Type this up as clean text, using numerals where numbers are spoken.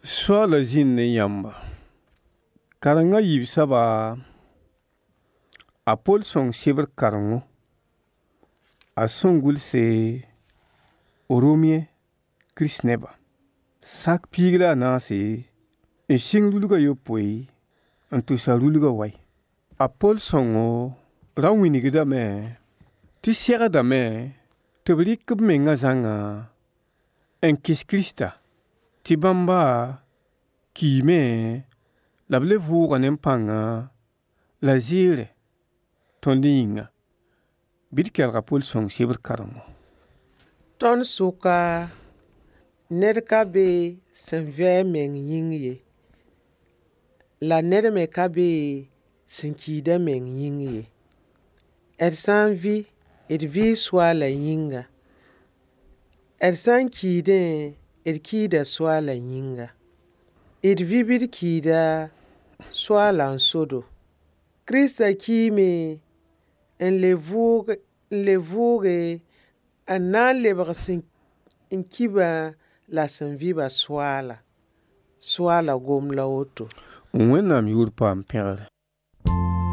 Soaala zĩnd ne yãmba. Kareng a yiib soaba, a Pol sõng sebr karengo a sẽn gʋlse Romiẽ Kirist-nebã. Sak 14 n sɩng rulg a yopoe n tʋsa rulgã wai. A Pol sõngo ra wĩnigdame tɩ segdame tɩ b rɩk b mengã zãnga n kɩs Kirista, tɩ bãmba kiime la b le vʋʋga ne pãnga la zɩɩre tõnd yĩnga. Bɩ d kelg a Pol sõng sebr karengo. Tõnd sʋka ned ka be sẽn vɩ a meng yĩng ye, la ned me ka be sẽn kiid a meng yĩng ye. D sã n vɩ, d vɩɩ Soaalã yĩnga. D sã n kiidẽ, d kiida Soaalã yĩnga. D vɩ bɩ d kiida Soaalã n so-do. Kiristã kiime n le vʋʋge n na n lebg sẽn ki-bã la sẽn vɩ-bã Soaala. Soaala gom la woto. Wẽnnaam yʋʋr paam pẽgre.